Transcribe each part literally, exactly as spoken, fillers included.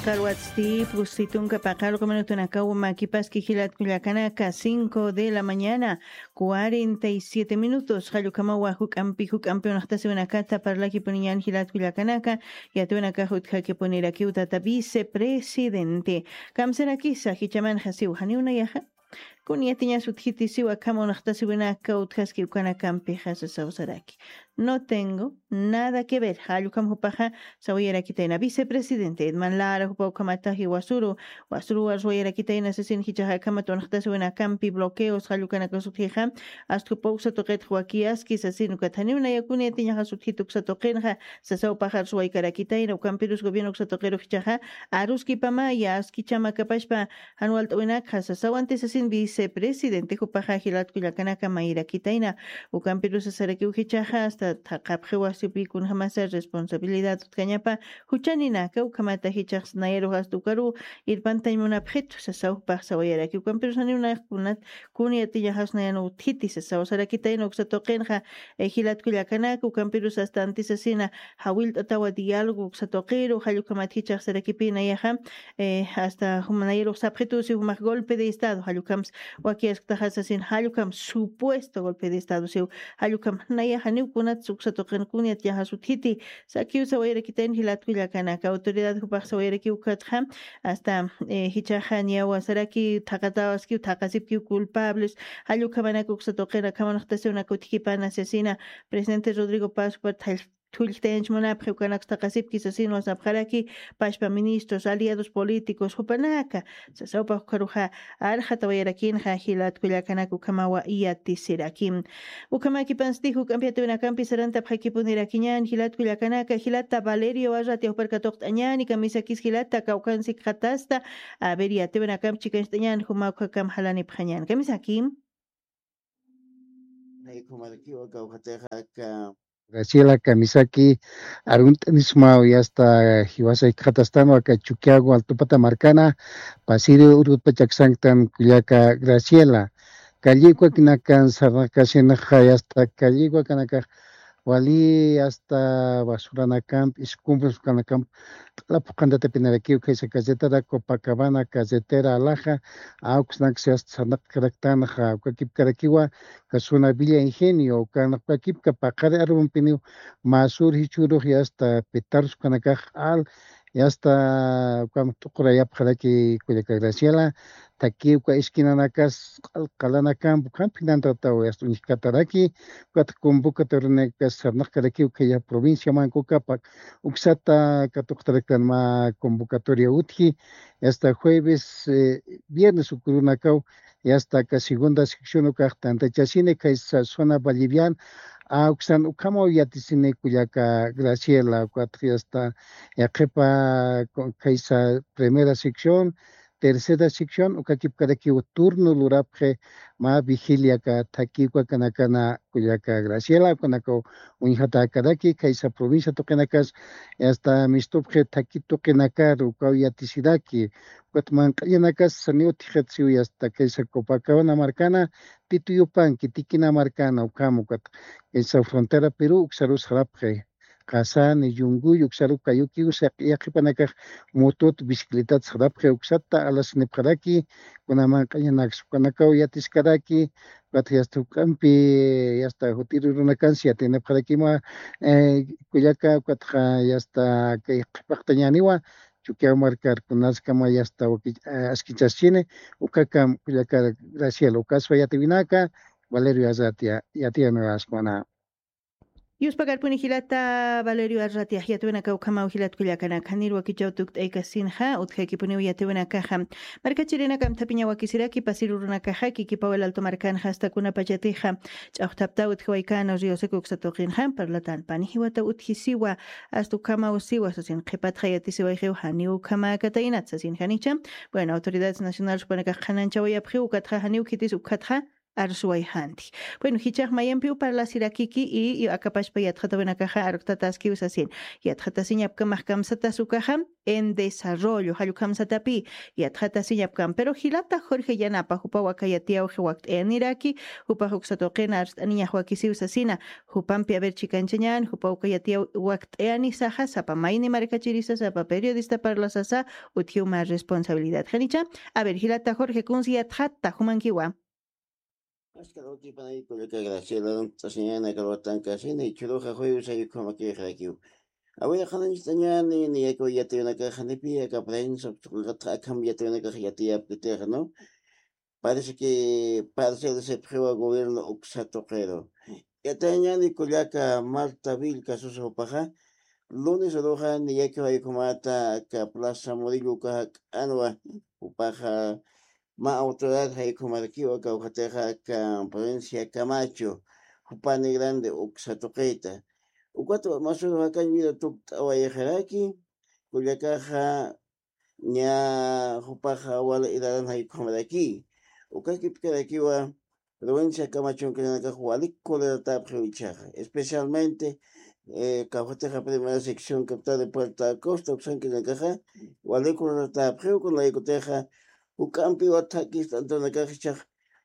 Alwatsti pusitunka paqaruqa minutunakaw makipaski jilatkullakanaka cinco de la mañana cuarenta y siete minutos. Qallukamawa juk'ampi juk'ampi unaqtasiwinakata parlakipuniñan jilatkullakanaka. Yatiwinakax utjakipunirakiw tata vicepresidente. Kamsarakisa jichamanxa siw janiw nayaxa. Kun yatiñas utjiti siwa kama unaqtasiwinaka utjaski ukanakampixa sasawsaraki. No tengo nada que ver. Jallukam jupaxa sawayarakitayna vicepresidente Edman Lara jupa ukamataji wasuru wasuru warsuwayarakitayna sasin jichaxa kamat unaqtasiwinakampi bloqueos jallukanakas utjixa. Asta jupa uksa tuqitxa wakiyaski sasin ukat janiw nayakun yatiñaxas utjiti uksa tuqinxa. Sasaw paxar suwaykarakitayna ukampirus gobierno uksa tuqiru jichaxa aruskipamaya askichamakapashpa jan walt'awinakxa sasaw anti sasin vicepresidente jupaxa jilatkullakanaka mayirakitayna. Ukampirus sasarakiw jichaxa asta thaqapxi wasipi kunjamasa responsabilidad utkañapa juchaninaka ukhamata jichax nayarux asta ukaru irpantañ munapxitu sasaw jupax sawayaraki ukampirus janiw nayax kunat kun yatiñaxas nayan utjiti sasaw sarakitayna uksa tuqinxa. Jilatkullakanaka ukampirus asta anti sasina jawillt'atawa diálogo uksa tuqiru jallukhamat jichax sarakipinayaxa. Asta jumanayirux sapxitusi jumax golpe de estado jallukhamsa wakiyasktaxasasin jallukhamsa supuesto golpe de estado siw. Jallukhamsa nayaxa niwkunatsa uksa tuqin kunyat yaxas utjiti. Sakiw sawayarakitayn jilatkullakanaka autoridad jupax sawayarakiw ukatxa. Asta jichaxa niyawa saraki thaqatawaskiw thaqasipkiw culpables. Jallukhamanaka uksa tuqin akhamanaqtasiwnak utjkipana sasina presidente Rodrigo Paz jupat thallthulltayanch munapxi ukanaksta qasipki sasinwa sapxaraki. Pashpa ministros aliados políticos jupanaka sasawpa ukaruxa arxatawayarakinxa jilatkullakanaka ukhamawa yatisiraki. Ukhamakipansti juk'ampi yatiwinakampi sarantapxakipunirakiñan jilatkullakanaka jilata valerio arrati awparkatuqt'añani kamisakis jilata kawkansikxatasta. Aver yatiwinakampi chikancht'añan juma ukhakam jalanipxañan kamisaki. Graciela kamisaki arunt'anismaw yasta jiwasaykaxatastanwa aka chukiago altupata markana. Pasiri urutpachaksanktan kullaka graciela. Kallikwakinakan sarnaqkasinxa yasta kalliwakanakax wali asta basuranakamp iskumbruskanakamp. Q'ala phuqhantatapinarakiw khaysa carretera copacabana carretera alaja. Awksnaksa yasta sarnaqkaraktanxa ukakipkarakiwa. Kasuna villa ingenio ukanaqpakipka paqari arrumpiniw. Masur jichhurux yasta pitarskanakax q'al yasta ukan t'uqurayapxaraki kullaka graciela. Thakiwka esquinanakas q'al qalanakamp ukhamp jinantataw yasta uñjkataraki. Ukat convocatorianakas sarnaqkarakiw khaya provincia mankukapak uksata katuqtaraktan mä convocatoria utji. Yasta jueves viernes ukurunakaw yasta aka segunda sección ukax tantachasini khaysa zona bolivian. Uksan ukhamaw yatisini kullaka graciela ukatx yasta yaqhipa khaysa primera sección tercera sección ukakipkarakiw turno lurapxi. Mä vigiliaka thakiwkakanakana kullaka graciela ukanakaw uñjatäkaraki khaysa provincia tuqinakas. Yasta mistupxi thaki tuqinakar ukaw yatisiraki. Ukat manq'añanakas saniw utjixit siwi asta kaysa copacabana markana tituyupanki tikina markana ukham ukat kaysa frontera peru uksarus sarapxi. Qasani yunguy uksaru kayukiw saqi yaqhipanakax motut bicicletat sarapxi uksata alasinipxaraki. Kuna manq'añanaks ukanakaw yatiskaraki. Ukatxa yasta juk'ampi yasta jutirurunakansi yatinipxarakima. Kullaka ukatxa yasta kay qhipaqtañaniwa chukiaw markar kunaskama yasta askichaschini. Ukakam kullaka graciela ukaswa yatiwinaka valerio arratia yatiyanuraskwana. Yuspakarpuni jilata valerio arratiax yatiwinaka ukhamaw jilatkullakanaka nir wakichaw tukt'aykasinxa utjakipuniw yatiwinakaxa. Markachirinaka amthapiña wakisiraki pasirurunakaxa kikipaw el alto markanxa asta kunapachatixa ch'awjtaptaw utjiwaykana riosaka uksa tuqinxa parlatan pani jiwataw utjisiwa. Asta ukhamaw siwa sasin qhipatxa yatisiwayxiw janiw ukhamäkataynat sasin janicha. Bueno autoridades nacionales jupanakax qhananchawayapxiw ukatxa janiw khitis ukatxa arsuwayxanti. Bueno, jichhax mayampiw parlasirakiki y, y akapachpa yatxatawinakaxa arktataskiw sasin. Yatxatasiñapkamax kamsatas ukaxa en desarrollo, jallukhamsatapi yatxatasiñapkam. Pero jilata Jorge Yanapa, jupaw aka yatiyawxi wakt'ayaniraki, jupax uksa tuqina arst'aniñax wakisiw sasina, jupampi a ver chikanchañan, jupaw uka yatiyaw wakt'ayanisaxa, sapa mayni markachirisa, sapa periodista parlasasa, utjiw mä responsabilidad. Janicha, a ver, jilata Jorge, kunsi yatxata, jumankiwa. Askar utjipanay kullaka Graciela, t'asiñana kalwatankasina, ichhuruxa juyu sayukhamakixrakiw. Awira qhananchitañani, niyakiw yatiyunakaxa nipi aka prensa, uksaqlaqatxa akham yatiyunakaxa yatiyapkitixa, ¿no? Parece que parcel sepxiwa gobierno uksa tuqiru. Yatayañani kullaka Marta Vilca Sosa jupaxa, lunes uruxa niyakiw jaykhumata aka Plaza Murillo uka jak'anwa, jupaxa mä autoridad jaykhumarakiwa kawkhatixa aka provincia Camacho, jupani grande uksa tuqita. Ukat masuru jakañ vida tukt'awayxaraki, kullakaxa ña jupaxa wali idaran jaykhumarakiy. Ukakipkarakiwa provincia Camacho ukanakax walik colaboratäpxiw ichhaxa. Especialmente, eh, kawkhatixa primera sección capital de Puerto Acosta, uksankirinakaxa walik colaboratäpxiw, kunalaykutixa juk'ampiwa thakist'antunakax ichhax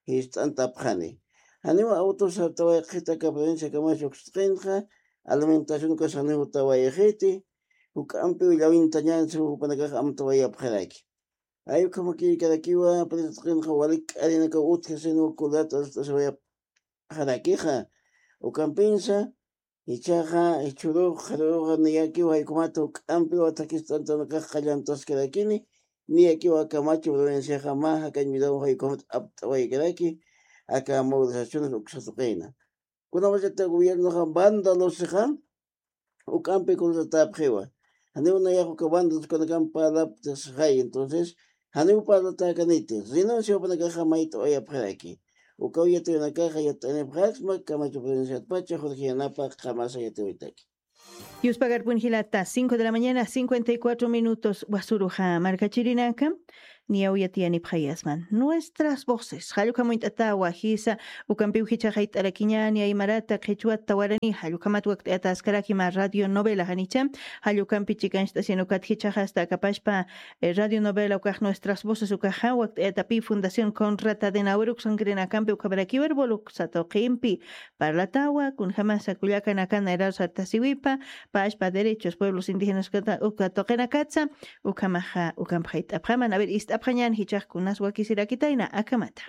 jist'antapxani. Janiw auto sartawayxita aka provincia Camacho uksa tuqinxa, alimentación ukax janiw jutawayxiti, juk'ampiw llawintañan, si jupanakax amtawayapxaraki. Ay ukhamakïkarakiwa, provincia tuqinxa walik k'arinakaw utjasiniw colaboratäpxarakixa. Ukampinsa, jichhaxa, jichhürux, qharürux, niyakiw jaykhumata juk'ampiwa thakist'antunakax qallantaskarakini, niyakiw aka Camacho provinciaxa mä jakañ vidaw jaykhumata apt'awaykaraki, aka movilizaciones uksa tuqina. Kunawachata gobiernoxa vandalosixa, juk'ampi colaboratäpxiwa. Janiw nayax uka vandaloskunakam parlapxay, entonces, janiw parlatäkaniti, renuncia jupanakaxa mayt'awayapxaraki. Ukaw yatiyunakaxa yat'anipxaksma, Camacho provinciatpacha, Jorge Yanapa, qamasa yatiyuytaki. Yuspagarpun jilata, cinco de la mañana, cincuenta y cuatro minutos, wasuruxa markachirinaka, niyaw yatiyanipxayasman. Nuestras voces, jallukhamuñt'ata wajisa, ukampiw jichhax jayt'arakiñani aymarata, qhichwata, warani, jallukhamat wakt'ayataskaraki mä radio novela janicha, jallukampi chikancht'asin ukat jichhax hasta akapashpa, eh, radio novela ukax Nuestras Voces ukaxa, wakt'ayatapi Fundación Konrad Adenauer uksankirinakampi ukhamarakiw Erbol uksa tuqimpi parlatawa, kunjamasa kullakanakan nayraru sartasiwipa, pashpa derechos pueblos indígenas uka tuqinakatsa, ukhamaxa, ukampi jayt'apxaman, a ver, ist'apxañän jichhax kunas wakisirakitayna, akhamata.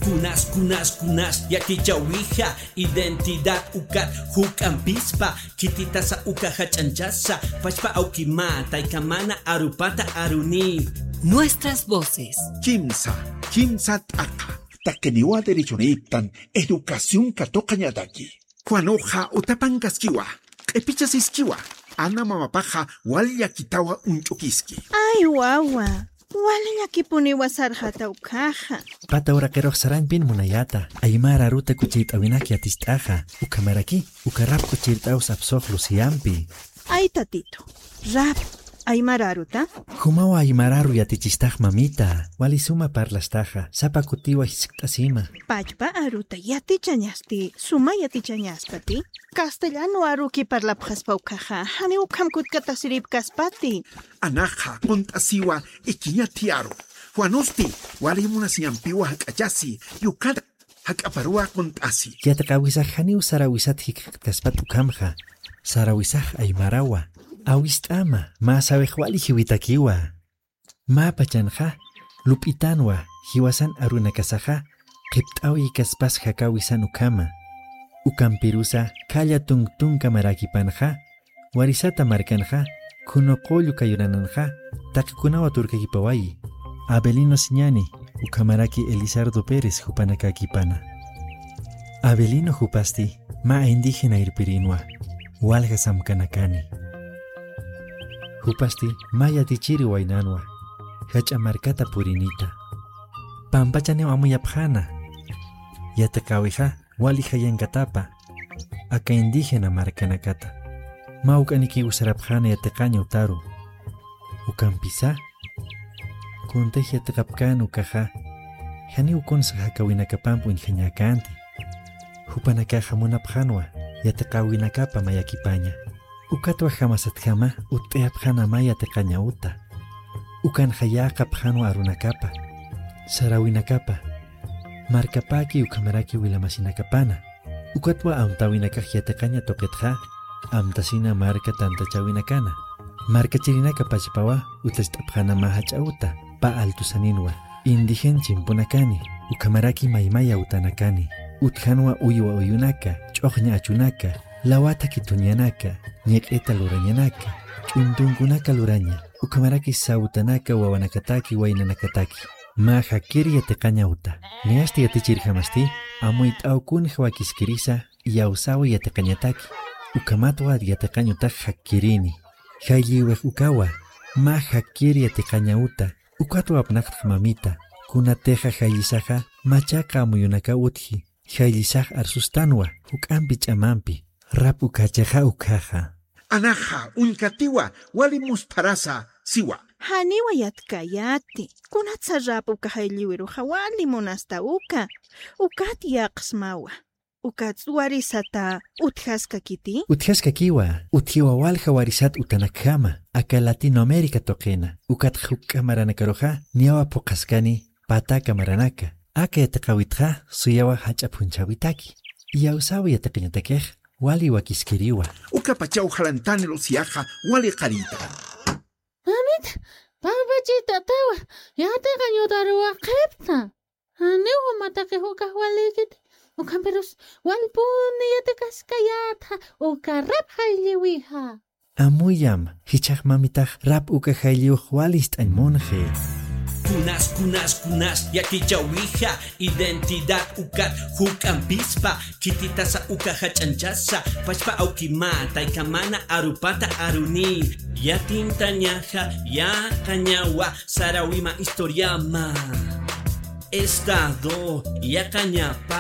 Kunas, kunas, kunas, yatichäwixa, identidad ukat juk'ampispa, khititasa uka jach'anchasa, pachpa awkima, taykamana, arupata, aruni. Nuestras voces. Kimsa, kimsa t'aqa. Taqiniwa derechonïptan educación katuqañataki. Juanuxa utapankaskiwa, q'ipichasiskiwa, ana mamapaxa wal llakitawa uñch'ukiski. Ay, wawa, wal llakipuniwa sarxata ukkhaxa. Pata uraqirux sarañpin munayäta, aymar aruta kuchirt'äwinak yaticht'axa, ukhamaraki, uka rap kuchirt'aw sapsux Luciampi. Ay, tatitu, rap, aymar aruta? Jumawa aymar aru yatichistax mamita, wali suma parlastaxa, sapa kutiwa jiskt'asima. Pachpa aruta yatichañasti, suma yatichañaspati? Castellano aruki parlapxaspa ukkhaxa, janiw ukham kutkatasiripkaspati. Anaxa, qunt'asiwa, ikiñati aru. Juanusti, wali munasiñampiwa jak'achasi, yukat jak'aparuwa qunt'asi. Yatiqäwisax janiw sarawisat jikxatkaspat ukhamxa. Sarawisax aymarawa. Awist'ama, mä sawix wali jiwitakiwa. Mä pachanxa, lup'itanwa, jiwasan arunakasaxa, qhipt'awikaspas jakäwisan ukhama. Ukampirusa, khalla tunk tunka marakipanxa, warisata markanxa, khunuqullu kayurananxa, taqikunawa turkakipawayi. Avelino Siñani, ukhamaraki Elizardo Pérez jupanakäkipana. Avelino jupasti, mä indígena irpirinwa, walja samkanakani. Jupasti, mä yatichiri waynanwa, jach'a markata purinita. Pampachaniw amuyapxäna. Yatiqäwixa, wali jayankatapa, aka indígena markanakata. Mä uk'anikiw sarapxäna yatiqañ utaru. Ukampisa, kuntix yatiqapkän ukaxa, Janiw kunsa jakawinakapamp uñjañäkänti. Jupanakaxa munapxänwa yatiqäwinakapa mayakipaña. Ukatwa jamasatjama utt'ayapxänama yatiqaña uta. Ukanxa yäqapxänwa arunakapa, saräwinakapa, markapäki ukhamaraki wilamasinakapana. Ukatwa amtäwinakax yatiqaña tuqitxa, amtasina marka tantachäwinakana. Markachirinaka pachpawa utjacht'apxänama jach'a uta, pä altusaninwa, indigen chimpunakani, ukhamaraki maymaya utanakani. Utjanwa uywa uyunaka, ch'uxña achunaka, lawata kithuñanaka, ñiq'ita lurañanaka, ch'untunkunaka luraña, ukhamaraki sawtanaka wawanakataki waynanakataki. Mä jakkir yatiqaña uta. Niyasti yatichirjamasti, amuyt'aw kunja wakiskirisa, iyawsäwi yatiqañataki. Ukhamatwa yatiqañ utax jakkirini. Jaylliwix ukawa, mä jakkir yatiqaña uta. Ukatwa apnaqtx mamita, kunatixa jayllisaxa, machaqa amuyunaka utji, jayllisax arsustanwa, juk'ampi ch'amampi, rap ukachixa ukhaxa. Anaxa, uñkatiwa, wali muspharasa, siwa. Janiwa yatkayäti, kunatsa rap uka jaylliwiruxa wali munasta uka, ukat yäqsmawa. Ukats warisata utjaskakiti? Utjaskakiwa, utjiwa walja warisat utanakjama, aka Latinoamérica tuqina, ukat juk'a maranakaruxa, niyawa phuqhaskani, pata kamaranaka. Aka yatiqäwitxa, suyawa jach'a phunchhäwitaki. Iyawsäwi yatiqañatakix, wali wakiskiriwa. Ukapachaw jalantani Luciaxa, wali qarita. Mamit, papachita tawa, yatiqañ uta aruwaqipta. Janiw jumataqix ukax walïkiti, ukhampirus walpuni yatiqaskayätxa, uka rap jaylliwixa. Amuyam, jichhax mamitax rap uka jaylliwix wali ist'añ munxi. Kunas, kunas, kunas, yatichäwixa, identidad ukat, juk'ampispa, khititasa uka jach'anchasa, pachpa awkima, taykamana, arupata, aruni, yatintañaxa, yaqañawa, saräwima historiama. Estado, yaqañapa,